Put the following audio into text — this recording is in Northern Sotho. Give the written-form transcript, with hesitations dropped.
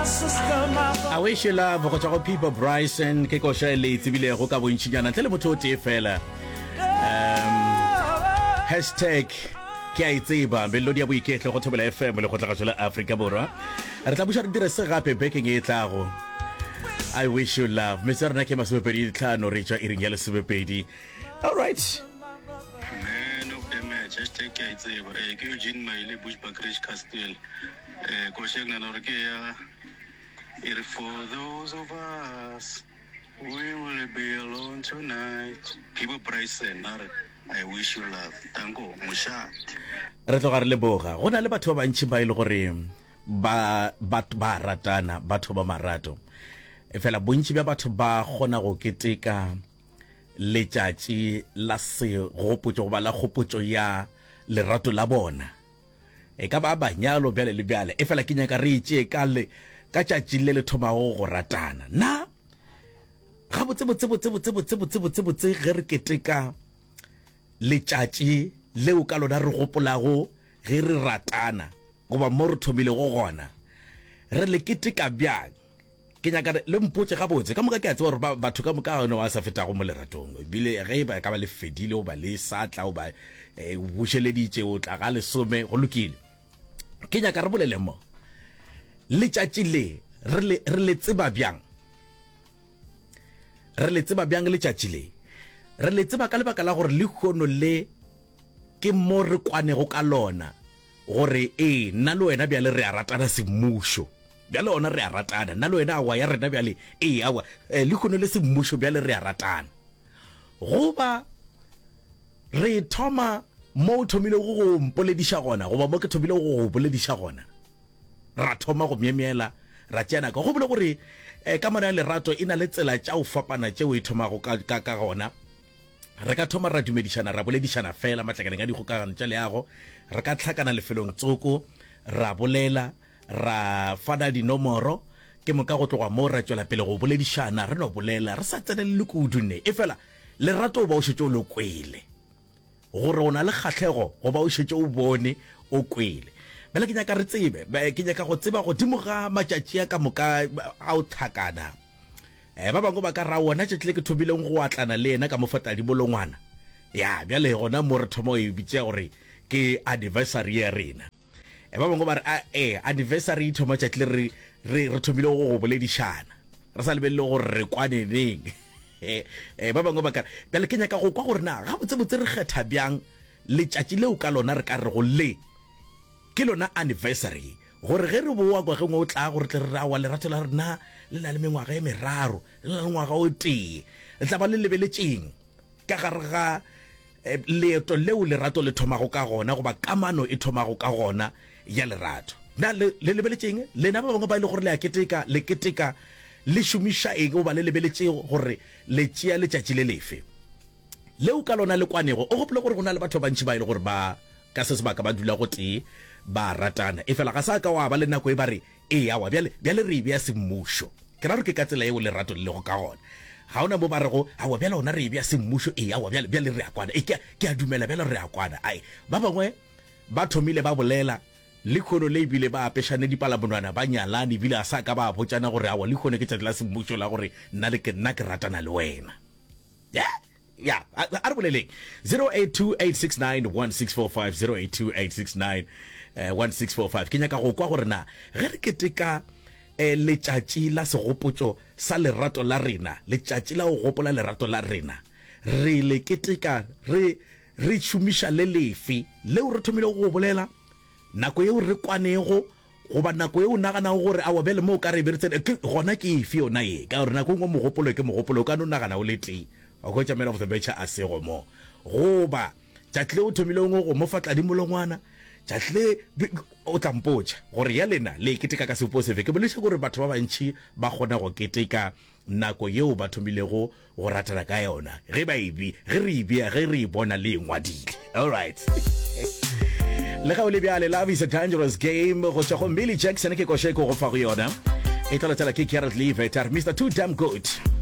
I wish you love go tšwa go Peter Bryson ke koša e le e tsebilego ka bontšinyana ntle le motho o tee fela. Um, hashtag ke a e tseba melodi ya boiketlo go Thobela FM le kgotlagašo la Afrika Borwa. Re tla buša re dire se gape bekeng e tlago. I wish you love. Metse ya rena ke masomepedi tlhano re tšwa iring ya lesomepedi. All right. Man of the match, hashtag ke a e tseba. Eh, ke Eugene Maile, Bushbuckridge Castle. Eh, koša e ke nagana gore ke ya e re for those of us we will be alone tonight. Phibo Bryson a re I wish you love. Tanko, mošate. Re tloga re leboga. Go na le batho ba bantši ba e le gore ba ba ba ratana, batho ba marato. Efela bontši bja batho ba kgona go keteka letšatši la segopotšo goba la kgopotšo ya lerato la bona. E ka ba manyalo bjale le bjale, efela ke nyaka re e tšee ka le ka tšatši le le thomago go ratana. Na gabotse botse botse botse botse botse botse botse ge re keteka letšatši leo ka lona re gopolago ge re ratana goba mo re thomilego gona, re le keteka bjang? Ke nyaka le mpotše gabotse. Ka moka ke a tseba gore ba, batho ka moka ga ba sa fetago mo leratong. Ebile ge e ba ka ba le fedile goba le sa tla goba e, bušeleditše o tla ga lesome, go lokile. Ke nyaka re bolele mo. Letšatši le re le, re le tseba bjang? Re le tseba bjang letšatši le? Re le tseba ka lebaka la gore lehono le ke mo re kwanego ka lona gore ee, nna le wena bjale re a ratana semmušo. Bjale ona re a ratana, nna le wena, aowa, ya rena bjale, ee, aowa, eh, lehono le semmušo bjale re a ratana. Goba re thoma mo o thomilego go mpolediša gona, goba mo ke thomilego go go bolediša gona, ra thoma go myemyela, ra tšea nako. Gopola gore eh, kamano ya lerato e na le tsela tša go fapana tšeo e thomago ka, ka, ka gona. Re ka thoma ra dumedišana, ra boledišana fela matlakaleng a dikgokagano tša leago, re ka hlakana lefelong tsoko, ra bolela, ra fana dinomoro, ke moka go tloga moo ra tšwela pele go boledišana, re no bolela re sa tsenelele kudu ne. Efela lerato o ba o šetše o le kwele, gore o na le kgahlego goba o šetše o bone o kwele. Bjale ke nyaka re tsebe, ke nyaka go tseba godimo ga matšatši a ka moka a o hlakana. Eh, ba bangwe ba ka ra wona tšatši le ke thomileng go atlana le yena ka mo fa tadimolongwana. Ya, bjale gona mo re thoma go e bitša gore ke anniversary ya rena. E ba bangwe ba re, a e, anniversary e thoma tšatši le re, re, re thomile go go boledišana. Re sa lebelele gore re kwane neng. E, ba bangwe ba ka re, bjale ke nyaka go kwa gore na gabotsebotse re kgetha bjang letšatši leo ka lona re ka rego le ke lona anniversary, gore ge re bowa ngwageng o tlago re tle re re, aowa, lerato la rena le na le mengwaga e meraro, le na le ngwaga o tee. Le tla ba le lebeletšeng ka gare ga leeto leo lerato le thomago ka gona goba kamano e thomago ka gona ya lerato. Na le, le lebeletše eng? Lena ba bangwe ba e le gore le a keteka, le keteka le šomiša eng goba le lebeletše gore le tšea letšatši le lefe leo ka lona le kwanego? O gopole gore go na le batho ba bantši ba e le gore ba ka se sebaka ba dula gotee ba ratana, efela ga sa ka wa ba le nako e ba re Ee, aowa, bjale, bjale re e bea semmušo. Ke ra gore ke ka tsela yeo lerato le lego ka gona. Ga o na mo ba rego, Aowa, bjale gona re e bea semmušo. Ee, aowa, bjale, bjale re a kwana. Ee, ke a, ke a dumela bjale re a kwana. Ai, ba bangwe ba thomile ba bolela, lehono le ebile ba apešane dipalamonwana, ba nyalane, ebile ga sa ka ba botšana gore, Aowa, lehono ke tšatši la semmušo la gore nna le ke, nna ke ratana le wena. Yeah. Ya, a, a re boleleng. 0828691645, 082869 1645. Ke nyaka go kwa gore na ge re keteka eh, letšatši la segopotšo sa lerato la rena, letšatši la go gopola lerato la rena, re le keteka re re šomiša le lefe leo re thomilego go bolela nako yeo re kwanego Goba nako ye o naganago gore, Aowa, bjale mo o ka re be re tsene, ke, gona ke efe yona ye? Ka gore nako e nngwe mogopolo ke mogopolo, o ka no nagana o le tee, wa hwetša man of the match a sego mo. Goba, tšatši le o thomilego go mo fa tladimolongwana, tšatši le, o tla mpotša gore ya lena le e keteka ka sebopego sefe. Ke boletše gore batho ba bantši ba kgona go keteka nako yeo ba thomilego go ratana ka yona, ge ba e be, ge re e bea, ge re e bona le e ngwadile. All right. Le ge o le bjale, Love is a Dangerous Game go tšwa go Millie Jackson ke koša e ko go fa go yona. E tla latela ke Gerald Levitt a re Mr. Too Damn Good.